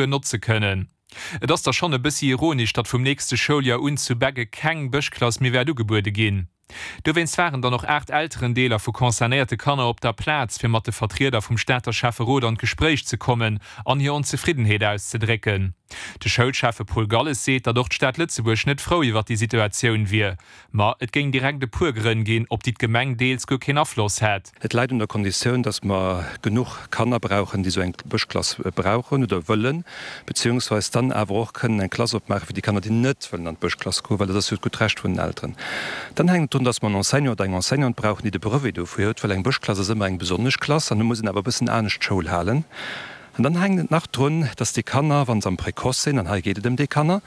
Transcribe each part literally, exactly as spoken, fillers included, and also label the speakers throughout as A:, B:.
A: notze kënnen. Et ass da schonn e bëssi ironesch, datt vum nächste Schouljoer un zu Beggen keng Bëschklass méi wäert ugebuede ginn. Dowéinst waren dann och aacht Elterendeeler vu concernéierte Kanner op der Plaz, fir mat de Vertrieder vum Stater Schäfferot an d'Gespréich ze kommen an hir Onzefriddenheet auszedrécken. De Schoulschäffe Paul Galles seet, datt och d'Stad Lëtzebuerg net frou iwwer déi Situatioun wier, ma et géing direkt e puer Grënn ginn, op déi d'Gemeng deels guer keen Afloss hätt.
B: Et läit un der Konditioun, datt mer genuch Kanner brauchen, déi esou eng Bëschklass brauchen oder wëllen, beziehungsweis dann awer och kënnen eng Klass opmaache fir déi Kanner, déi net wëllen an d'Bëschklass goen, well dat ass jo d'gutt Recht vun den Elteren. Dann hänkt et drun, datt mer en Enseignant oder eng Enseignante brauchen, déi de Brevet dofir huet, well eng Bëschklass ass ëmmer eng besonnesch Klass an do muss een awer e bëssen anescht Schoul halen. An dann hänkt et nach drun, dass déi Kanner, wa se am Précoce sinn, an hei geet et ëm déi Kanner,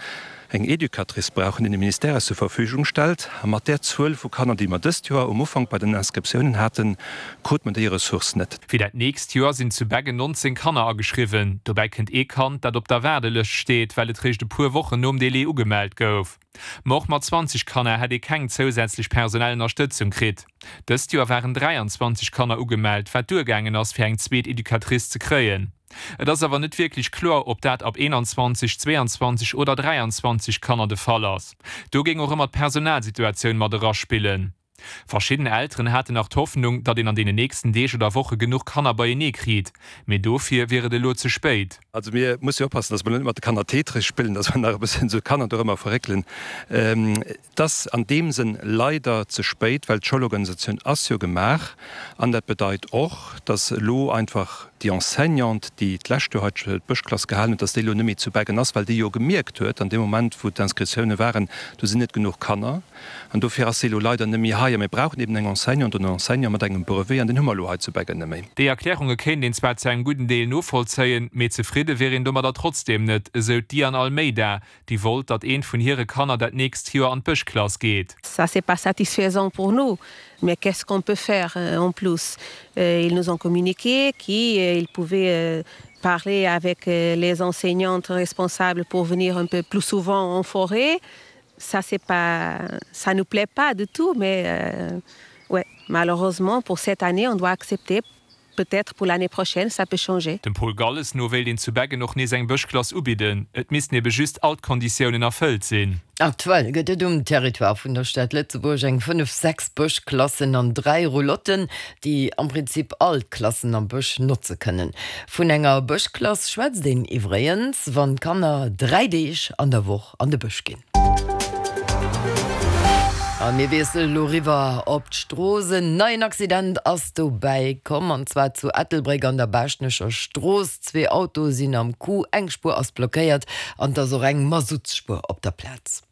B: eng Educatrice brauchen, déi de Ministère eis zur Verfügung stellt. A mat där Zuel vu Kanner, déi mer dëst Joer um Ufank bei den Inscriptiounen haten, krute mer déi Ressource net.
A: Fir dat nächst Joer sinn zu Beggen nonzéng Kanner ageschriwwen. Dobäi kënnt ee Kand, dat op der Waardelëscht steet, well et réischt e puer Wochen nom Délai ugemellt gouf. Ma och mat zwanzeg Kanner hätt ee keng zousätzlech personell Ënnerstëtzung kritt. Dëst Joer waren dräianzwanzeg Kanner ugemellt, wat duergaangen ass, fir eng zweet Educatrice ze kréien. Et ass awer net wierklech kloer, ob dat ab eenanzwanzeg, zweeanzwanzeg oder dräianzwanzeg Kanner de Fall ass. Do géing och ëmmer d'Personalsituatioun mat eraspillen. Verschidden Elteren haten nach d'Hoffnung, datt een an deenen nächsten Deeg oder Woche genuch Kanner beienee kritt, mee dofir wier et elo ze spéit.
B: Also mir musse jo oppassen, datt mer elo net mat de Kanner Tetris spillen, datt mer nach e bëssen esou d'Kanner dorëmmer verréckelen. Et ass an deem Sënn leider ze spéit, well d'Schoulorganisatioun ass jo gemaach. An dat bedeit och, datt elo einfach déi Enseignante, déi d'lescht Joer hei d'Bëschklass gehalen huet, datt déi elo net méi zu Beggen ass, well déi jo gemierkt huet an deem Moment, wou d'Inscriptioune waren, do sinn net genuch Kanner. An dofir ass si elo leider net méi hei. A mir brauchen eben eng Enseignante oder en Enseignant mat engem Brevet, an deen hu mer elo hei zu Beggen net méi.
A: Déi Erklärunge kéint een zwar zu engem gudden Deel novollzéien, mee zefridde wier een domadder trotzdeem net, esou d'Diane Almeida, déi wollt, datt eent vun hire Kanner dat nächst Joer an d'Bëschklass geet.
C: Ça c'est pas satisfaisant pour nous, mais qu'est-ce qu'on peut faire en plus? Ils nous ont communiqué qu'ils pouvaient parler avec les enseignantes responsables pour venir un peu plus souvent en forêt. Ça c'est pas, ça nous plaît pas du tout, mais ouais, malheureusement pour cette année on doit accepter. Peut-être pour l'année prochaine, ça peut changer.
A: Dem Paul Galles no wéilt een zu Beggen och nees eng Bëschklass ubidden, et missten ebe just all d'Konditiounen erfëllt sinn.
D: Aktuell gëtt et um Territoire vun der Stad Lëtzebuerg eng fënnef, sechs Bëschklassen an dräi Roulotten, déi am Prinzip all d'Klassen am Bësch notze kënnen. Vun enger Bëschklass schwätzt een iwwregens, wann d'Kanner dräi Deeg an der Woch an de Bësch ginn. A mir wiesselen elo eriwwer op d'Strooss. En neien Accident ass dobäi komm, an zwar zu Ettelbréck an der Baaschtnecher Strooss. Zwee Autoe sinn am Coup, eng Spuer ass blockéiert an et ass och eng Masuttsspuer op der Plaz.